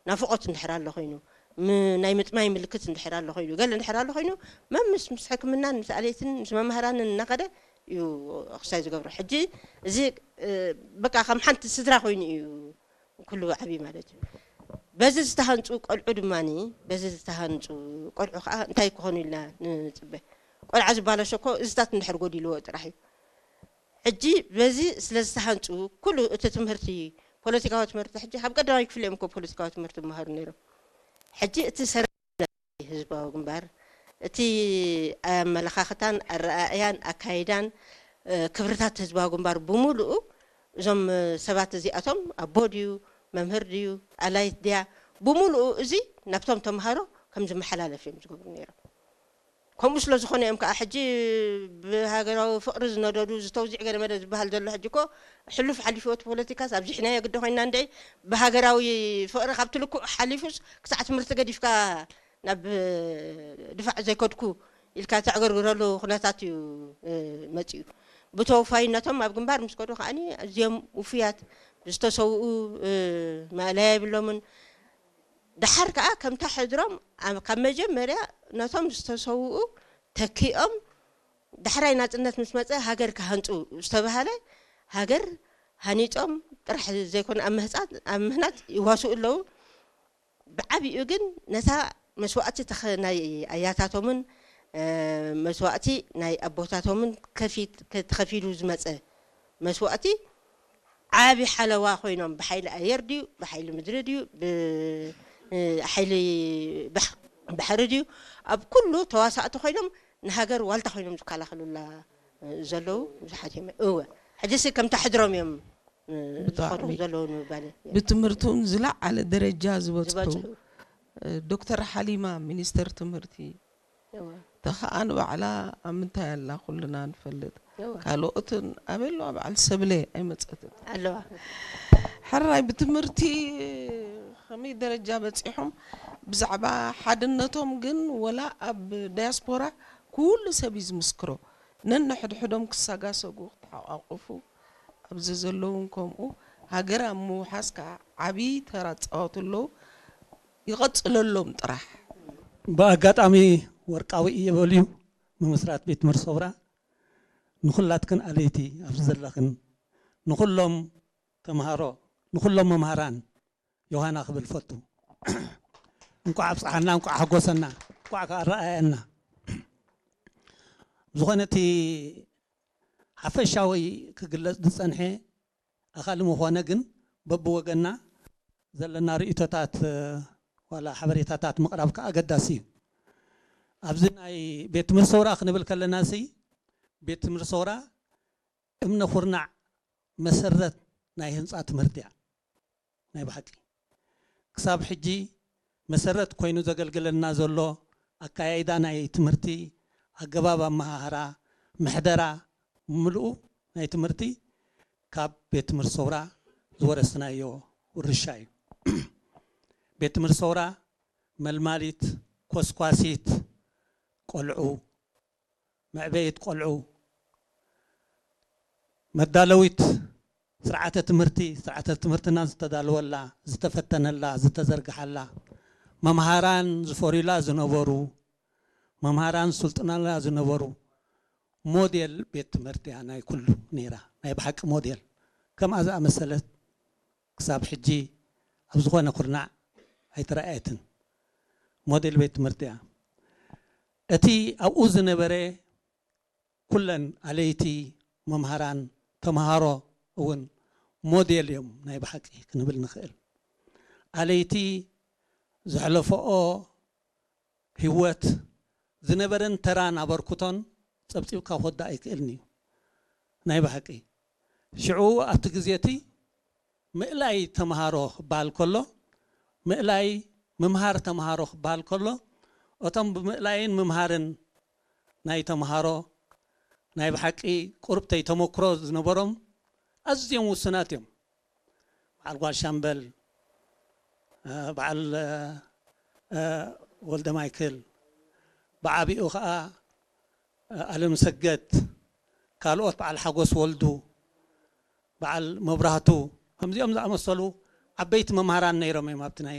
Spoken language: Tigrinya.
ናፍቖት እንድሕር ኣሎ ኮይኑ፣ ም- ናይ ምጥማይ ምልክት እንድሕር ኣሎ ኮይኑ፣ ገለ እንድሕር ኣሎ ኮይኑ፣ መምስ ምስ ሕክምናን ምስ ኣለይትን ምስ መምህራንን እናኸደ እዩ ኣክሳይ ዝገብሮ። ሕጂ እዚ እ፣ በቃ ከም ሓንቲ ስድራ ኮይኑ እዩ ኩሉ ዓብዪ ማለት እዩ። በዚ ዝተሃንፁ ቆልዑ ድማ፣ በዚ ዝተሃንፁ ቆልዑ ከዓ እንታይ ክኾኑ ኢልና ንፅበ? ቆልዓ ዝበላሾ እኮ እዚታት እንድሕር ጎዲልዎ ጥራሕ እዩ። ሕጂ በዚ ስለ ዝተሃንፁ ኩሉ እቲ ትምህርቲ፣ ፖለቲካዊ ትምህርቲ፣ ሕጂ ካብ ቀዳማይ ክፍሊ እዮም እኮ ፖለቲካዊ ትምህርቲ ዝመሃሩ ነይሮም። ሕጂ እቲ ሰረ ህዝባዊ ግንባር፣ እቲ ኣመለኻኽታን ኣረኣእያን ኣካይዳን ክብርታት ህዝባዊ ግንባር ብምሉኡ፣ እዞም ሰባት እዚኣቶም ኣቦ ድዩ፣ መምህር ድዩ፣ ኣላይት ድያ፣ ብምሉኡ እዚ ናብቶም ተምሃሮ ከም ዝመሓላለፍ እዮም ዝገብሩ ነይሮም። ከምኡ ስለ ዝኾነ እዮም ከዓ ሕጂ ብሃገራዊ ፍቕሪ ዝነደዱ ዝተውዚዕ ገለመለ ዝበሃል ዘሎ። ሕጂ እኮ ሕሉፍ ሓሊፍዎ እቲ ፖለቲካስ ኣብዚሕናዮ ግዲ ኮይንና እንደ ብሃገራዊ ፍቕሪ ካብቲ ልኩዕ ሓሊፉስ ክሳዕ ትምህርቲ ገዲፍካ ናብ ድፋዕ ዘይከድኩ ኢልካ ተዕገርግረሉ ኩነታት እዩ መፂኡ። ብተወፋይነቶም ኣብ ግንባር ምስ ከዱ ከዓኒ ኣዝዮም ውፉያት ዝተሰውኡ ማእለያ የብሎምን። ደሓር ከዓ ከምታ ሕድሮም ካብ መጀመርያ ነቶም ዝተሰውኡ ተኪኦም ዳሕራይ ናፅነት ምስ መፀ ሃገር ክሃንፁ ዝተባሃለ ሃገር ሃኒፆም ጥራሕ ዘይኮነ ኣብ ምህፃት ኣብ ምህናፅ ይዋስኡ ኣለዉ። ብዓብኡ ግን ነታ መስዋእቲ ናይ ኣያታቶምን መስዋእቲ ናይ ኣቦታቶምን ተኸፊሉ ዝመፀ መስዋእቲ ዓቢ ሓለዋ ኮይኖም ብሓይሊ ኣየር ድዩ ብሓይሊ ምድሪ ድዩ ብሓይሊ ባሕሪ ድዩ ኣብ ኩሉ ተዋሳእቲ ኮይኖም ንሃገር ዋልታ ኮይኖም ዝከላኸሉላ ዘለዉ ብዙሓት እዮም። እወ ሕጂሲ ከምታ ሕድሮም እዮም ዝኸዱ ዘለዉ ንምባል። ብትምህርቲ እውን ዝለዓለ ደረጃ ዝበፅሑ ዶክተር ሓሊማ ሚኒስተር ትምህርቲ ተኸኣ ንባዕላ ኣብ ምንታይ ኣላ ኩልና ንፈልጥ። ካልኦትን ኣበይ ኣለዋ በዓል ሰብለ ኣይመፀትን። ኣለዋ። ሕራይ ብትምህርቲ ከመይ ደረጃ በፂሖም ብዛዕባ ሓድነቶም ግን ወላ ኣብ ዳያስፖራ ኩሉ ሰብ እዩ ዝምስክሮ። ነንሕድሕዶም ክሰጋሰጉ ክተሓቋቁፉ ኣብዚ ዘለውን ከምኡ ሃገር ኣብ ምውሓስ ከዓ ዓብዪ ተራ ዝፃወቱ ኣለዉ። ይቐፅለሎም ጥራሕ። ብኣጋጣሚ ወርቃዊ እየ በልዩ ምምስራት ቤት ትምህርቲ ሰውራ ንኹላትክን ኣለይቲ ኣብዚ ዘለኽን ንኹሎም ተምሃሮ ንኹሎም መምሃራን ዮሃና ክብል ፈቱ። እንቋዕ ኣብፅሓና፣ እንቋዕ ሓጎሰና፣ እንቋዕ ከኣ ኣረኣየና። ዝኾነ እቲ ሓፈሻዊ ክግለፅ ዝፀንሐ ኣኻሊ ምኾነ ግን በብወገና ዘለና ርእቶታት ዋላ ሓበሬታታት ምቕራብ ከዓ ኣገዳሲ እዩ። ኣብዚ ናይ ቤት ትምህርቲ ሰውራ ክንብል ከለና ሲ ቤት ትምህርቲ ሰውራ እምነ ኩርናዕ መሰረት ናይ ህንፃ ትምህርቲ እያ። ናይ ብሓቂ ክሳብ ሕጂ መሰረት ኮይኑ ዘገልግለና ዘሎ ኣካያይዳ ናይ ትምህርቲ፣ ኣገባብ ኣመሃህራ፣ ምሕደራ፣ ምልኡ ናይ ትምህርቲ ካብ ቤት ትምህርቲ ሰውራ ዝወረስናዮ ውርሻ እዩ። ቤት ትምህርቲ ሰውራ መልማሊት፣ ኮስኳሲት ቆልዑ፣ መዕበይት ቆልዑ፣ መዳለዊት ስርዓተ ትምህርቲ፣ ስርዓተ ትምህርትና ዝተዳለወላ፣ ዝተፈተነላ፣ ዝተዘርግሓላ፣ መምሃራን ዝፈርዩላ ዝነበሩ፣ መምሃራን ዝስልጥኑላ ዝነበሩ ሞዴል ቤት ትምህርቲ እያ ናይ ኩሉ ነይራ። ናይ ብሓቂ ሞዴል ከምኣ ዝኣመሰለት ክሳብ ሕጂ ኣብ ዝኾነ ኩርናዕ ኣይተረኣየትን። ሞዴል ቤት ትምህርቲ እያ። እቲ ኣብኡ ዝነበረ ኩለን ኣለይቲ፣ መምሃራን፣ ተምሃሮ እውን ሞዴል እዮም ናይ ብሓቂ ክንብል ንኽእል። ኣለይቲ ዘሕለፈኦ ህይወት ዝነበረን ተራን ኣበርክቶን ፀብፂብካ ክወዳእ ኣይክእልን እዩ ናይ ብሓቂ። ሽዑ ኣብቲ ግዜ እቲ ምእላይ ተምሃሮ ክበሃል ከሎ፣ ምእላይ ምምሃር ተምሃሮ ክበሃል ከሎ፣ እቶም ብምእላይን ምምሃርን ናይ ተምሃሮ ናይ ብሓቂ ቁርብተይ ተመክሮ ዝነበሮም ኣዝዮም ውሱናት እዮም። በዓል ጓል ሻምበል፣ በዓል ወልደ ማይክል፣ ብዓቢኡ ከዓ ኣለምሰገድ፣ ካልኦት በዓል ሓጎስ ወልዱ፣ በዓል መብራህቱ፣ ከምዚኦም ዝኣመሰሉ ዓበይቲ መምሃራን ነይሮም እዮም ኣብቲ ናይ